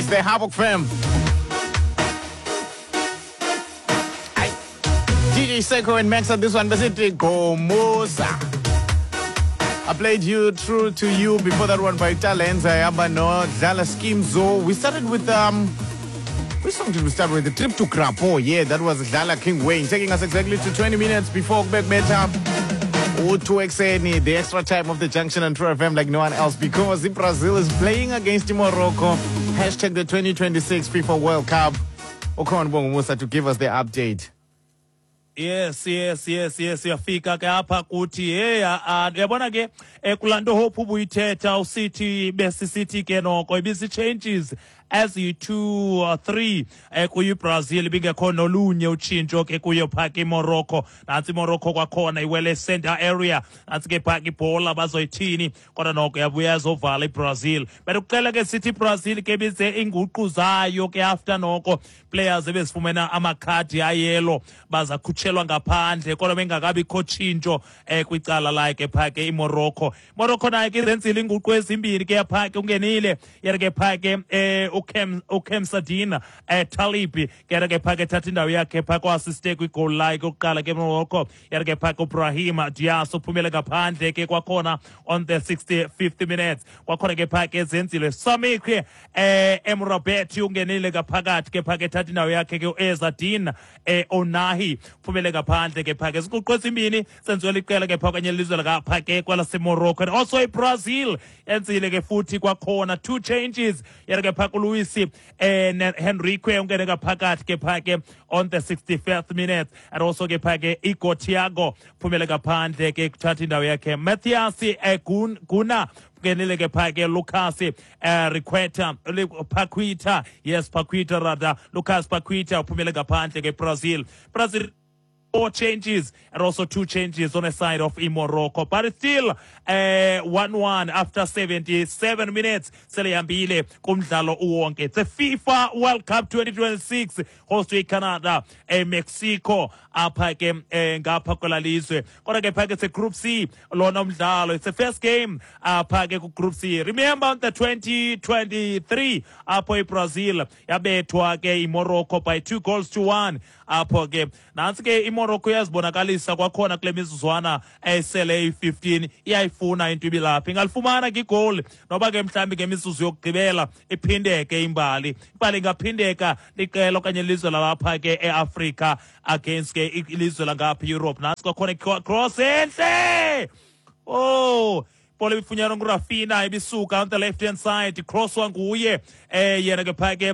It's the Havoc Fam. Aye. DJ Seko and Max on this one. Besithi Gomusa. I played you True to You before that one by Talenza Yaba no Dlala Skimzo. We started with which song did we start with? The Trip to Krapo. Yeah, that was Dlala King Wayne, taking us exactly to 20 minutes before Meta. O2XN, the extra time of the Junction and True FM like no one else, because Brazil is playing against Morocco. Hashtag the 2026 FIFA World Cup. Ukhona Bongumusa to give us the update. Yes, uyafika ke apha kuthi. Hey, uyabona ke, kulaa nto Hope ubuyithetha usithi besisithi ke noko ibisi-changes eziyi-2 or 3 kuyo iBrazil, ibingekho nolunye utshintsho ke kuyo phaa ke iMorocco. Nantsi iMorocco kwakhona iwele center area, nantsi ke phaa ke ibhola, bazoyithini? Kodwa noko yabuya yazovala iBrazil. Bendikuxela ke sithi iBrazil ke bize iinguqu zayo ke after noko players ebezifumene amakhadi ayelo bazakhutshelwa ngaphandle, kodwa bengakabikho tshintsho kwicala lakhe phaa ke iMorocco. Morocco nayo ke izenzile iinguqu ezimbini ke phaa ke, ungenile yena ke phaa ke uKemsadina Talibi ke ke phaa ke thatha indawo yakhe phaa kwa-assiste kwi-goal lakhe yokuqala ke Morocco. Yena ke phaa ke uBrahim Diaz uphumele ngaphandle ke kwakhona on the 65th minutes. Kwakhona ke phaa ke zenzile Samikwe Emrabet ungenile ngaphakathi ke phaa ke thatha indawo yakhe ke uEzadin Onahi uphumele ngaphandle ke phaa ke. Ziinguqu ezimbini senziwe liqela ke phaa okanye lilizwe lakapha ke kwelaseMorocco. And also iBrazil yenzile ke futhi kwakhona two changes, yena ke phaa kuLuis Henrique ungene ngaphakathi ke phaa ke on the 65th minute, and also ke phaa ke Igor Thiago phumele ngaphandle ke kuthatha indawo yakhe Matheus Guna ungenile ke phaa ke Lucas Riqueta Paqueta, yes, Paqueta rather, Lucas Paqueta uphumele ngaphandle ke. Brazil four changes and also two changes on the side of Morocco. But it's still 1-1 after 77 minutes. Selehambile kumdlalo uwonke. It's a FIFA World Cup 2026 host Canada, Mexico apha ke ngapha kwela lizwe. Kodwa ke phake it's a Group C lona umdlalo. It's the first game apha ke ku Group C. Remember the 2023 apho iBrazil yabethwa ke iMorocco by 2 goals to 1 apho ke. Nantsi ke iMorocco iyazibonakalisa kwakhona kule mizuzwana esele iyi-15, iyayifuna into ibilapha, ingalifumana ke igoli noba ke mhlawumbi ngemizuzu yokugqibela iphindeke imbali. Imbali ingaphindeka liqela okanye ilizwe lalapha ke eAfrika against ke ilizwe langapha eEurope. Nantsi kwakhona cross entle. Oh, ibhola ibifunyanwa nguRafinha, ibisuka on the left hand side, crosswa nguye yena ke phaa ke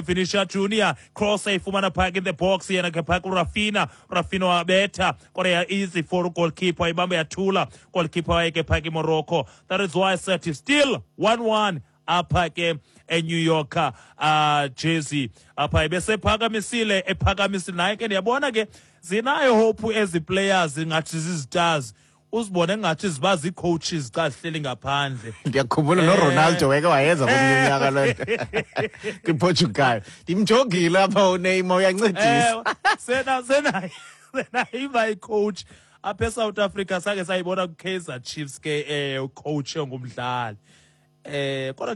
Vinicius Junior, cross ayifumana phaa ke in the box yena ke phaa kuRafinha. Rafinha wabetha kodwa ya easy for goalkeeper, ibambe yathula goalkeeper waye ke phaa ke Morocco. That is why I said it's still 1-1 apha ke eNew York, Jersey apha. Ebesephakamisile, ephakamisile naye ke. Ndiyabona ke zinayo hope ezi players, ngathi zizistars, uzibone ngathi ziba zii-coaches xa zihleli ngaphandle. Ndiyakhumbula noRonaldo weke wayenza komnye unyaka loo nto kwiPortugal. Ndimjongile apha uNeymar uyancedisa. Ewe, sena iba icoach apha eSouth Africa, sake sayibona ku-Kaizer Chiefs ke ucoach ongumdlali. Kodwa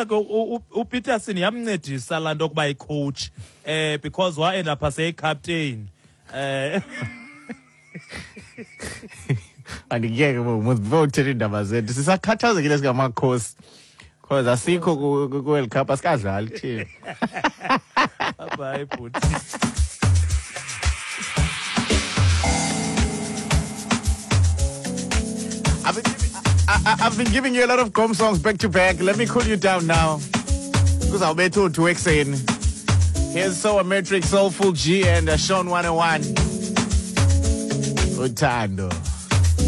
ke uPeterson yamncedisa laa nto kuba icoach because wa-end up seyicaptain. Andikuyeke before uthethe iindaba zethu, sisakhathazekile singamakhosi because asikho ku-World Cup, asikadlali thina. Bye bhuti. I've been giving you a lot of gqom songs back to back. Let me cool you down now. Because I'll be 2 ekuseni. Here's Soa Metric, Soulful G, and Sean 101. Uthando.